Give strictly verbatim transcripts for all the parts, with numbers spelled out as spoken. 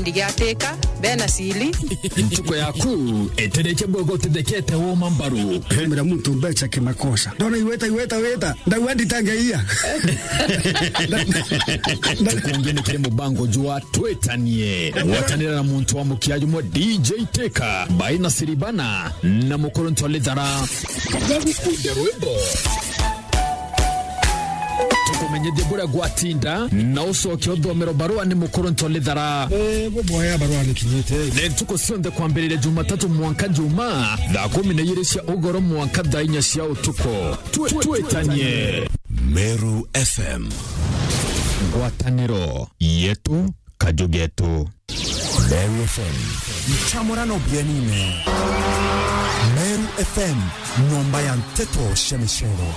Ndigiatika, bena sili. Ntuku yaku itereke bwega utithekete woma mbaru. Mira muntu mbecha kimakosa. Ndona iweta, iweta, weta. Ndauga nditangeia. Ntuku ungi ni kiri mubango jwa Twitanie. Gwatanira na muntu wa mukia jumwe D J Teka, Baina Siribana, na Mukuruntu Lithara. Bagukunde rwimbo. Tukumenyithie buria gwatinda, na ucoke uthomero barua ni Mukuruntu Lithara. Eh, buboya barua ni kinyite. Ni ntuku cionthe kwambiriria Jumatatu mwanka Juma, thaa kumi na igiri cia ugoro mwanka thaa inya cia utuku. Twi-, twitanie. Meru F M. Ngwataniro yetu, kaju getu. Meru F M. Nchamurano bienine. Meru F M, nyomba ya nteto cia micero.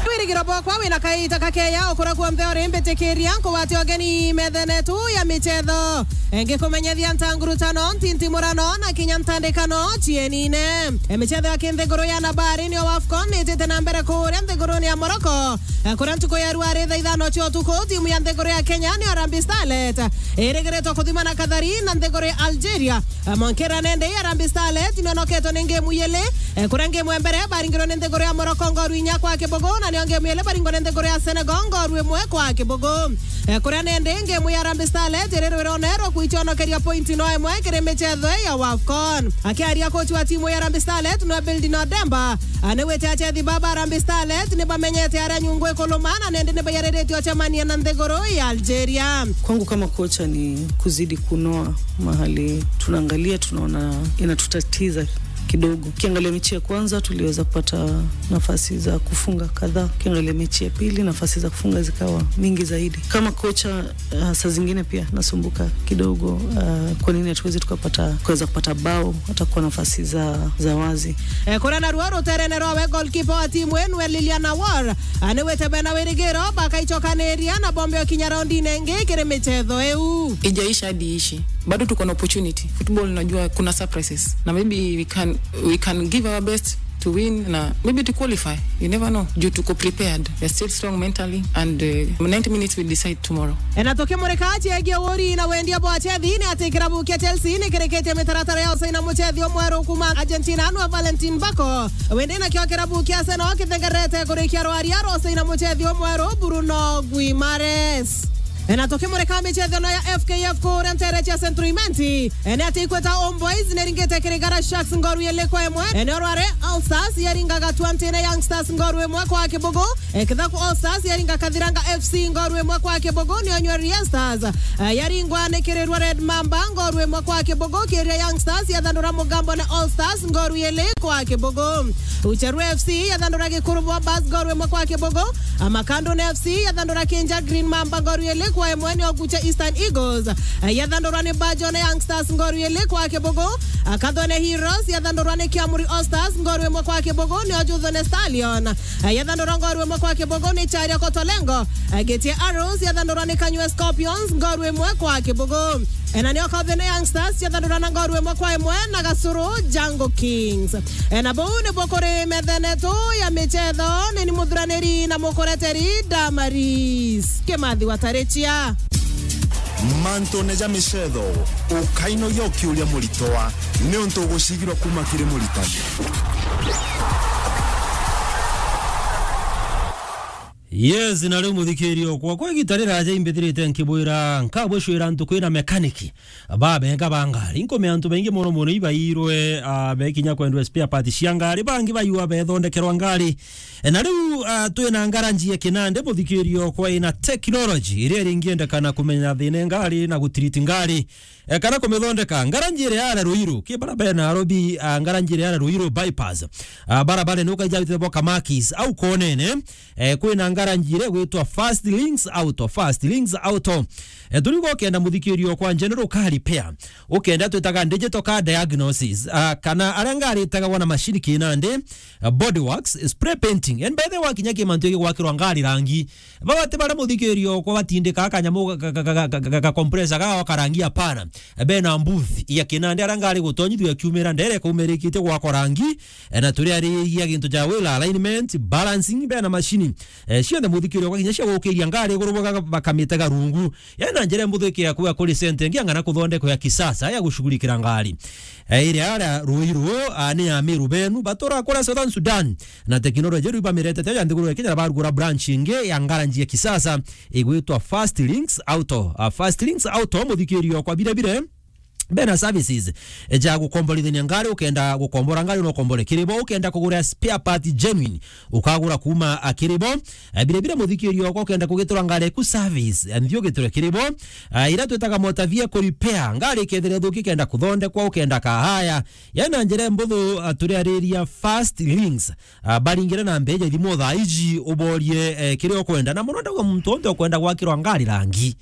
Wirigiro bwakwa wina kaita kakeya ukura kuonthe uri, mbitikiria nkugwate ugeni methene tu ya michetho. Ngikumenyethia ntangurutano, ntintimurano na kinya ntandikano cienine. Michetho ya kinthiguru ya nabari niyo AFCON itite na mbere kuria nthiguruni ya Morocco. Eh, kuria ntuku ya rua ri thaa ithano cia utuku, timu ya nthiguru ya Kenya ni Harambee Starlet irigiritwe kuthima na kathari na nthiguru ya Algeria. Eh, mwankira nende Harambee Starlet ni onoketwe ni ngemu yili. Eh, kuria ngemu ya mbere baringirwe ni nthiguru ya Morocco ngoru inya kwa kibugu, na niyo ngemu yili baringwa ni nthiguru ya Senegal ngoru imwe kwa kibugu. Eh, kuria nende ngemu ya Harambee Starlet irirwirone rwa kwichonokeria point no imwe kiri michetho ya AFCON. Akiaria coach wa timu ya Harambee Starlet, no Building Odemba, Ah, ni gwite achethi baba Harambee Starlet ni bamenyete aria nyungu ikuluma, na nindi ni bayariritie ocemania na nthiguru ya Algeria. Kwangu kama kocha ni kuzidi kunoa mahali tunaangalia, tunaona inatutatiza kidogo. Ukiangalia mechi ya kwanza, tuliweza kupata nafasi za kufunga kadhaa. Ukiangalia mechi ya pili, nafasi za kufunga zikawa mingi zaidi. Kama kocha, ah, saa zingine pia nasumbuka kidogo, ah, kwa nini hatuwezi tukapata, kuweza kupata bao hata kwa nafasi za, za wazi. Eh, kuria naruo ruterene rwawe, goalkeeper wa timu inu, Lilian Awor, ah, ni gwite bena wirigiro bakaichokaniria na bombe okinya raundine ingi kiri michetho iu. Ijaisha hadi ishi. Bado tuko na opportunity. Football, unajua, kuna surprises. Na maybe we can, we can give our best to win na maybe to qualify. You never know. Juu tuko prepared. We are still strong mentally and, uh, ninety minutes will decide tomorrow. E, na tukimurika ciegie uguri na wendia bwa achethi, ni ati kirabu kia Chelsea ni kirikitie mitaratara ya usaina muchethi umweru kuma Argentina, nwa Valentin Bako. Wende nakio kirabu kia Arsenal kithengerete kurikia rwaria rwa usaina muchethi umweru Bruno Guimares. E, na tukimurika michetho no ya F K F kuria ntere cia Central Imenti. E, ni ati Ikweta Homeboys ni ringite kiri Gara Sharks ngoru ili kwa imwe. E, ni orware All Stars yaringa Gatwantine Young Stars ngoru imwe kwa kibugu. E, Kithaku All Stars yaringa Kathiranga F C ngoru imwe kwa kibugu. Ni onywe Ria Stars, e, yaringwa ni Kirirwa Red Mamba ngoru imwe kwa kibugu. Kiria Young Stars yathandura Mugambo na All Stars ngoru ili kwa kibugu. Ucheru F C yathandura Gikuru Bombers ngoru imwe kwa kibugu. Amakandune F C yathandura Kinja Green Mamba ngoru ili kwa imwe. Ni Oguche Eastern Eagles, eh, yathandurwa ni Bajone Young Stars ngoru ili kwa kibugu. Akathone Heroes yathandurwa ni Kiamuri All Stars ngoru imwe kwa kibugu. Ni Ojuthone Stallion, eh, yathandurwa ngoru imwe kwa kibugu ni Charia Kotolengo. Eh, Gitie Arrows yathandurwa ni Kanywe Scorpions ngoru imwe kwa kibugu. E, na nio Kathene Young Stars ciathandura na ngoru imwe kwa imwe na Gasuru Jungle Kings. E, na buu nibuo kuri methene tu ya michetho, ni ni muthuraniri na mukureteri Damaris Kimathi wa Tarichia. Mantune ja michetho, ukainogia ukiuria muritwa, niuntu ugucigirwa kuma kiri muritani. Yes, na riu muthikiri okwa, kwa igita riraja imbithirite nkibwira, nkabwicwira ntuku ina mekaniki, babenga ba ngari. Nkumea antu baingi mono mono ibairwe, ah, bekinya kwendwa spare parts cia ngari, bangi baiwa bethondekerwa ngari. E, na riu, ah, twina ngaranji ya kinande, muthikiri okwa, ina technology iria iringiendekana kumenya thina ngari na gutiriti ngari. E, kana kumithondeka. Ngaranji iria ya Ruiru, ki bara bena Nairobi, ah, ngaranji iria ya Ruiru bypass. Ah, barabara ni ukaija witire bo Kamakis, au konene, eh, kwina ngaranji iria gwitwa Fast Links Auto, Fast Links Auto. Eh, turiuga ukenda muthikiri okwa general car repair, ukenda twitaga digital car diagnosis, ah, kana aria ngari itagagwa na mashini kinandi, ah, body works, spray painting. And by the way, wakinya ki mantu igwakirwa ngari rangi, Baba ti baria muthikiri okwa batindika kanyamu ga, ga, ga compressor ga wakarangi, hapana. Bena booth ya kinandi aria ngari gutonyithua ikiumira ndere kaumirikite gwakwa rangi, e, na turia arigia gintu ja wheel alignment, balancing, bena mashini, e, cionthe, muthikiri okwa, kinya cia gukiria ngari iguru baga-, bakamitega rungu. Yaani na njira mbuthu ikia kuga kuri sente ingi ang'ana kuthondekwa ya kisasa ya gushughulikira ngari. Eh, iria aria Ruiru, ah, ni ya Meru benu, batura kuria Southern Sudan. Na teknoloji riu bamiretete ya nthiguru ya Kenya, na barugura branch ingi ya ngaranji ya kisasa igwitwa Fast Links Auto. Ah, Fast Links Auto, muthikiri okwa, bire bire bena services, eh, ja gukomborithania ngari. Ukenda gukombora ngari, no ukombore kiri bo. Ukenda kugura spare part genuine, ukagura kuma, ah, kiri bo. Eh, bire bire, muthikiri okwa, ukenda kugitura ngari eku service, eh, nthi ugiture kiri bo. Ah, ira twitaga motor vehicle repair, ngari ikethira ithuki, ikenda kuthondekwa, ukenda kahaya. Yaani na njira mbuthu, ah, turiariria Fast Links. Ah, baringire na mbeja thimu thaa iji, uborie, eh, kiria ukwenda. Na muno ndauga muntu onthe ukwenda gwakirwa ngari rangi.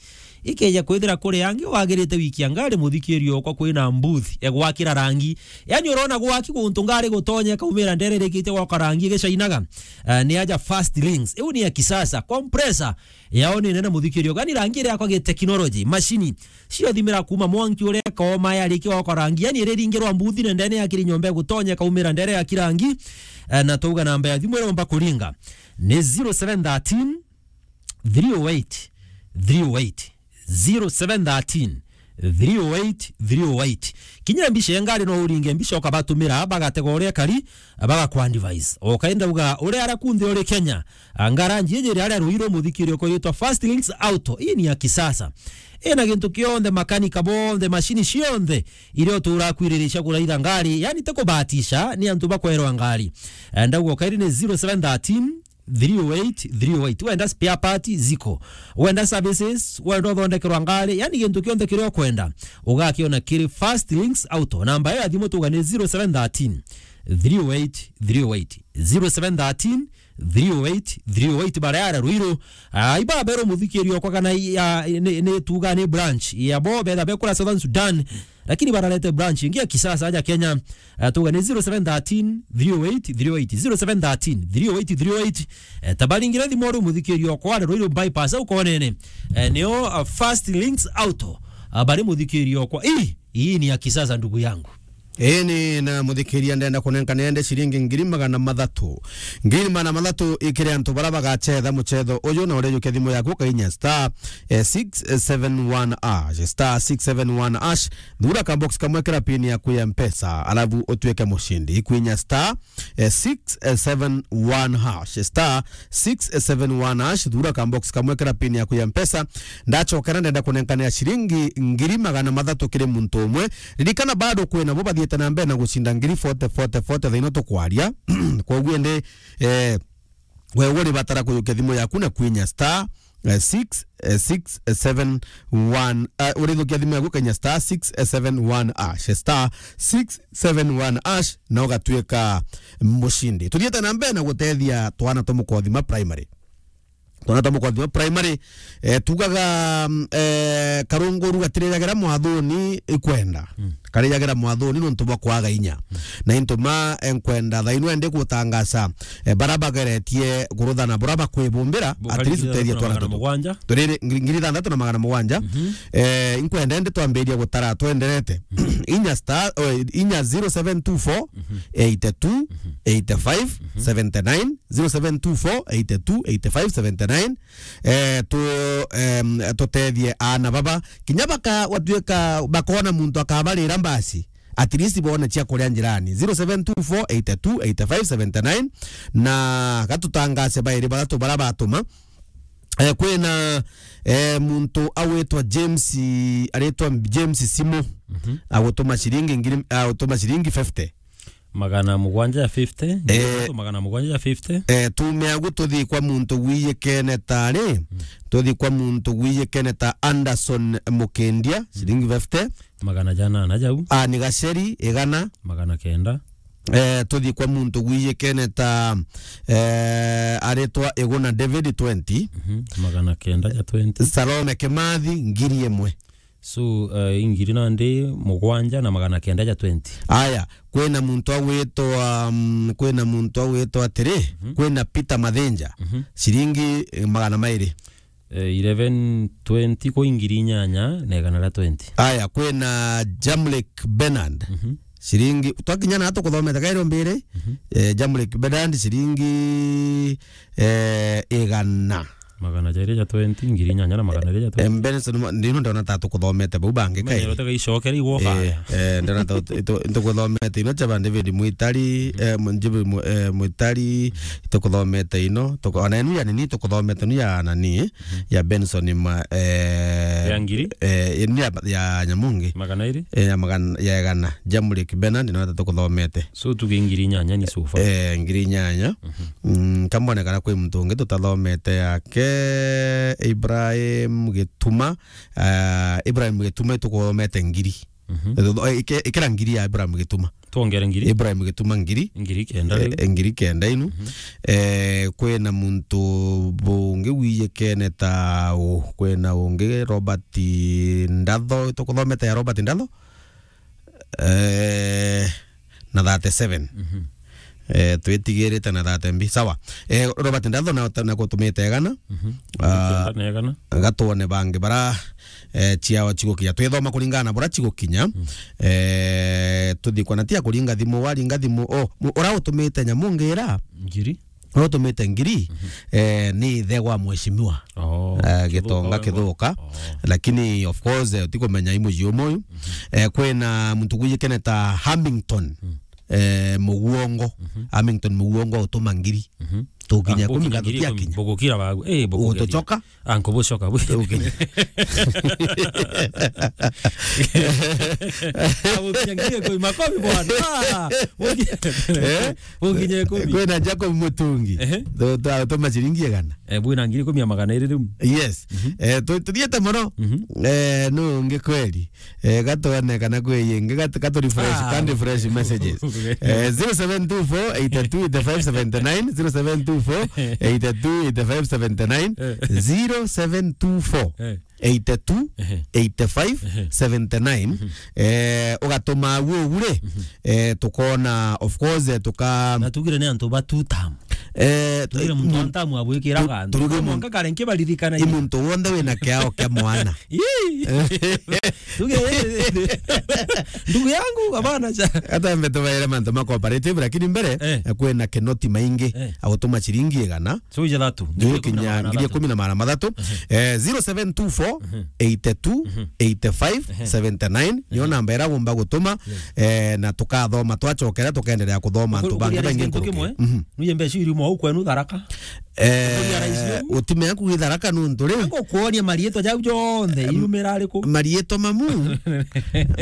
Ikeja kwithira kuri angi wagirite wiki ya ngari, muthikiri okwa, kwina mbuthi ya gwakira rangi. Yaani urona gwaki guntu ngari gutonya ikaumira ndere irikite gwaka rangi igicainaga. Ah, ni aja Fast Links. Iu ni ya kisasa. Compressor yao ni nene, muthikiri okwa. Yaani rangi iria yakwa gi technology. Machine cio thimira kuma mwanki uria kaoma yarikia gwaka rangi. Yaani iriringirwa mbuthi na ndene ya kiri nyomba igutonya ikaumira ndere ya kirangi. Eh, na twauga namba ya thimu iria umba kuringa ni zero seven thirteen three oh eight three oh eight. Zero seven thirteen three oh eight three oh eight. Kinya mbica ya ngari no uringe mbica ukabatumira, bagatega uria kari, bagaku advise. Ukaenda uga uria ara kunthe uri Kenya, ngaranji iji iria aria Ruiru, muthikiri okwa, yitwa Fast Links Auto. Ii ni ya kisasa. Ina gintu kionthe, makanika bonthe, machine cionthe iria utura kwiriricia kuraitha ngari, yaani ti kubahatisha, ni antu bakwerwa ngari. Eh, ndauga ukairi ni zero seven thirteen three oh eight three oh eight. Wenda spare part ziko. Wenda services, wenda uthondekerwa ngari, yaani gintu kionthe kiria ukwenda, ugakiona kiri Fast Links Auto. Namba ya thimu tuga ni zero seven thirteen three oh eight three oh eight. Zero seven thirteen three oh eight three oh eight. Baria ara Ruiru, ah, iba bero muthikiri okwa kana i-, ah, ni, ni tuga ni branch ya bo betha bekura Southern Sudan. Lakini bararete branch ingi ya kisasa aja Kenya. Ah, tuga ni zero seven thirteen three oh eight three oh eight, zero seven thirteen three oh eight three oh eight. Eh, tabaringire thimu uri muthikiri okwa, ari Ruiru bypass au konene. Eh, nio, ah, Fast Links Auto. Ah, bari muthikiri okwa. Ii, ii ni ya kisasa, ndugu yangu. Ii ni na muthikiria, ndenda kunenka niende ciringi ngiri magana mathatu. Ngiri magana mathatu ikiri antu bara bagachetha muchetho uyu, na urijukia thimu yaku ukainya star, eh, six seven one hash, star six seven one hash. Thura ka box kamwe kira pin yaku ya Mpesa, alafu utuike mucindi. Ikwinya star, eh, six seven one hash, star six seven one hash. Thura ka box kamwe kira pin yaku ya Mpesa. Ndachokera ndenda kunenkanira ciringi ngiri magana mathatu kiri muntu umwe. Ririkana bado kwina bo bathiite na mbere na gucinda ngiri forty, forty, forty thaino tukwaria. Koguo indi, eh, we uri batara kujukia thimu yaku na kwinya star, eh, six, eh, six, eh, seven, one, eh, urithukia thimu yaku kenya star six seven one hash, star six seven one hash, na ugatuika mucindi. Tuthiite na mbere na gutethia twana twa Mukothima Primary. Twana twa Mukothima Primary, eh, tugaga, mm, eh, karunguru gatirijagira mwathuni ikwenda. Mm. Karijagira mwathuni nontu bwa kwaga inya. Mm. Na into ma, eh, nkwenda thaino endi gutangaza, eh, bara bageretie kuruthana bura bakwibumbira, at least utethia twana tutu. Turiri ngiri, ngiri ithanthatu na magana mugwanja. Mhm. Eh, inkwenda endi twambiria gutara twenderete. Mhm. Inya star, oh, inya zero seven two four, eight two, eight five, seventy nine, zero seven two four, eight two, eight five, seventy nine. Eh, tu, em, tutethie aana baba. Kinya baka, gwatuika bakona muntu akabarira mbasi, at least bone cia kuria njirani. Zero seven two four, eight two, eight five, seventy nine. Na gatutangase bairi bathatu bara batuma. Eh, kwina, eh, muntu agwitwa James, aritwa James Simo. Mhm. Agutuma ciringi ngiri, agutuma ciringi fifty. Magana mugwanja ya fifty, eh, magana mugwanja ya fifty. Eh, tume agu tuthi kwa muntu gwiyikene ta ri, mm, tuthi kwa muntu gwiyikene ta Anderson Mukindia, mm, ciringi fifty. Magana janana jau. Ani Gaceri, igana. Magana kenda. Eh, tuthi kwa muntu gwiyikene ta, eh, aritwa Iguna David, twenty. Mhm, magana kenda ja twenty. Salome Kimathi, ngiri imwe. So, eh, ingiri nandi mugwanja na magana kenda ja twenty. Aya, kwina muntu agwitwa, mm, kwina muntu agwitwa atiri, mhm, kwina Peter Mathinja, mhm, ciringi, eh, magana mairi. Eh, eleven twenty kwa ingiri inyanya na igana ria twenty. Aya, kwina Jamlek Bernard, mhm, Ciringi, twakinya na tukuthomete kairi mbiri, mhm, eh, Jamlick Bedand, ciringi, eh, igana. Magana jairi ja twenty, ngiri inyanya na magana jairi ja twenty. Eh, Benson, ndino ndona ta tukuthomete bau bangi kai. Menyero tega icokere igwoka. Eh, eh, ndona ta tu-, tu-, tukuthomete ino chaba David Mwitari, mhm, eh, Mu-, David Mu-, eh, Mwitari, tukuthomete ino, tuku-, ona enu ya nini tukuthomete nu ya nani, mhm, ya Benson ma-, eh, ya ngiri? Eh, enu ya, ya Nyamungi. Magana iri? Eh, ya magana, ya igana. Jamlick Bedand, ndino ta tukuthomete. So, tuge ngiri inyanya ni so far. Eh, ngiri inyanya. Mhm. Mm, kambone kana kwi muntu ungi tutathomete yake, Ibrahim Gituma. Ah, Ibrahim Gituma, itukuthomete ngiri. Mhm. Eh, ike-, ikira ngiri ya Ibrahim Gituma. Twongere ngiri? Ibrahim Gituma ngiri. Ngiri kenda riu. Eh, ngiri kenda inu. Mhm. Eh, kwina muntu bungi wiyikene ta u, kwina ungi Robert Ndatho, tukuthomete ya Robert Ndatho? Eh, na thirty-seven. Mhm. Eh, twitigirite na thirty mbi. Sawa. Eh, Robert Ndatho na, na gutumite igana. Mhm. Ah, na igana. Gatwone bangi bara, eh, ciao cigukinya. Twithoma kuringana na bura cigukinya. Mm. Eh, tuthi kwa na tia kuringa thimu, waringa thimu. Oh, mu-, ura utumite Nyamungi ira? Ngiri. Ura utumite ngiri, mhm, eh, ni ithe wa mheshimiwa. Oh, eh, Kithuka Gitonga we Kithuka. Oh. Lakini of course, eh, utikumenya i muji umwe uyu. Mhm. Eh, kwina muntu gwijikene ta Hamilton. Mm. Eh, Muguongo. Mhm. Hamilton Muguongo utuma ngiri. Mhm. Tukinya ah, kumi ukinya ngiri ikumi, tutiakinya. Bugukira bagu. Eh, bugukira. Utucoka? Ah, nkubucoka bwi. Ukinya. Ah, ukinya ngiri ikumi, makofi bwana. Ah, ukinya. Eh? Ukinya ikumi. Kwina Jacob Mutungi. Ehe. Tu-, tu-, tuma ciringi igana. Eh, bwina ngiri ikumi ya magana iri riu. Yes. Mhm. Eh, tu-, tuthiete mono. Mhm. Eh, nu ungi kweli. Eh, gatwone kana kwi ingi, gat-, katu refresh, ah, can refresh messages. Eh, zero seven two four eight two eight five seven nine, zero seven two four eight two eight five seven nine, eh, zero seven two four eight two eight five seven nine. Eh, ugatuma uguo ugure, eh, tukona, of course, eh, tuka- Na tugire ni antu ba two term. Eh, tugire muntu mu-, antamu abwikiraga tu-, antu. Turuge mu-, mwanka kare nkibaririkana i muntu wonthe wina kiao kia mwana. Ii. Tuge, ndugu yangu, abana cha. Hata mbe tubaire mantu ma cooperative, lakini mbere, eh, kwina kinoti maingi, eh, agutuma ciringi igana. So, ija thatu. Ngiri ikumi na magana mathatu. Ngiri ikumi na magana mathatu. Eh, zero seven two four eight two eight five seventy nine. Niyo namba ira ugomba gutuma, eh, na tukathoma, twachokera, tukaendelea kuthoma antu bangi baingi nkuruki. Mhm. Nuye mbeca iri mwa ukwenu Tharaka. Eh, utimea kuuga Tharaka nuntu ri? Ngukuonia marietwa jau jonthe, em, iumira ariku? Marietwa mamu.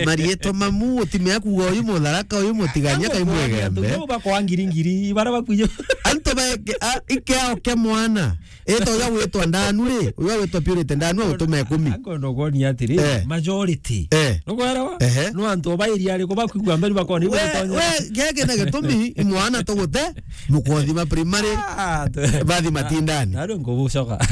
Marietwa mamu, utimea kuuga uyu Mutharaka, uyu Mutigania, kai Mwegembe. Antu bakwa ngiri ngiri, bara bakwije. Antu ba, a, ikiao kia mwana. Ito uria witwa Ndanu ri, uria witwa Purity Ndanu, utume ikumi. Ango ndokuonia atiri, eh, majority. Eh. Nukwelewa? Ehe. No antu ba area ariku bakwigua mberi bakoni we, we, gege na gitumi, i mwana tugute, Mukothima primary, ah, tu- bathi matindani. Nari nkubucoka.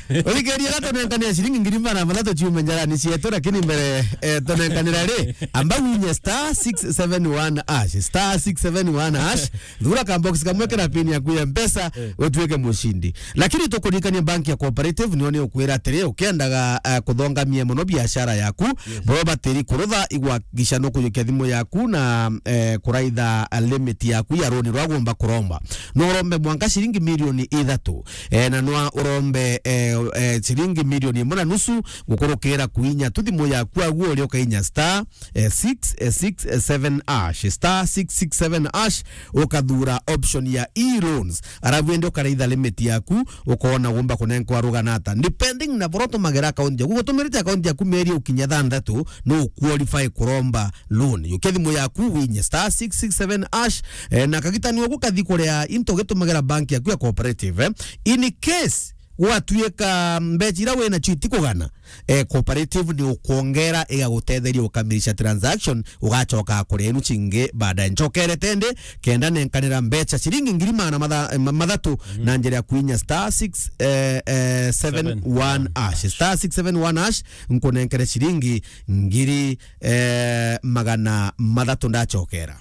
Uthikiririe gatonenkanira ciringi ngiri magana mathatu ciume njarani cietu, lakini mbere, eh, tonenkanira ri, amba winye star six seven one hash, star six seven one hash, thura ka box kamwe kena pin yaku ya mpesa, eh, utuike mucindi. Lakini tukuririkania bank ya Cooperative, niyo ni ukwira atiri, ukiendaga, eh, kuthongamia mono biashara yaku, yes, boro batiri kurutha igwa gisha no kujukia thimu yaku na, eh, kuraitha limit yaku ya roni rwa gomba kuromba. No urombe mwanka ciringi milioni ithatu. Eh, na nwa urombe, eh, eh, ciringi milioni imwe na nusu gukurukira kuinya tu thimu yaku agu uri ukainya star, eh, six, eh, six, eh, seven hash, star six six seven hash, ukathura option ya e-loans. Arabu ende ukaraitha limit yaku, ukona gomba kunenkwa rugana ata. Depending na boro tumagira account yaku, gutumirite account yaku meri ukinya thanthatu, no qualify kuromba loan. Yukia thimu yaku, winye star six six seven hash, eh, na kagitani ogu kathi kuria into gitumagira bank yaku ya Cooperative, eh. In case gwatuika mbeca ira wina cio itikugana, eh, Cooperative ni ukwongera igagutetheria ukamilisha transaction, ugacoka kuria inu cingi baadaye. Ncokerete ndi, kenda nenkanira mbeca ciringi ngiri magana matha-, eh, ma-, mathatu, mhm, na njira ya kuinya star six, eh, eh, seven one hash. Seven one hash. Star six seven one hash, nkunenkere ciringi ngiri, eh, magana mathatu ndacokera.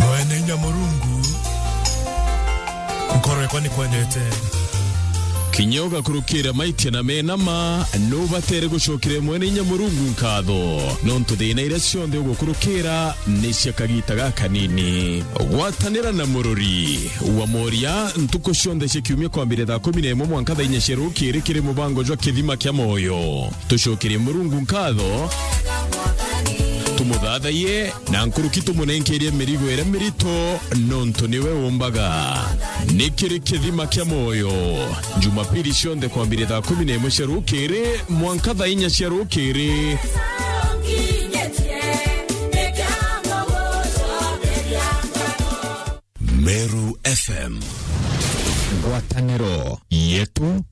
Mwene inya Murungu, nkoro yakwa nikwendete. Kinya ugakurukira maitia na mena ma, nubatere gucokeria Mwene Inya Murungu nkatho, nontu thina iria cionthe ugukurukira ni cia kagita gakanini. Gwatanira na murori wa moria ntuku cionthe cia kiumia kwambiria thaa kumi na imwe mwanka thaa inya cia rukiri kiri mubango jwa Kithima kia Moyo. Tucokerie Murungu nkatho, tumuthathaiye, na nkuruki tumunenkerie mirigo iria mirito, nontu niwe umbaga. Ni kiri Kithima kia Moyo, Jumapili cionthe kwambiria thaa kumi na imwe cia rukiri mwanka thaa inya cia rukiri. Meru F M. Ngwataniro yetu.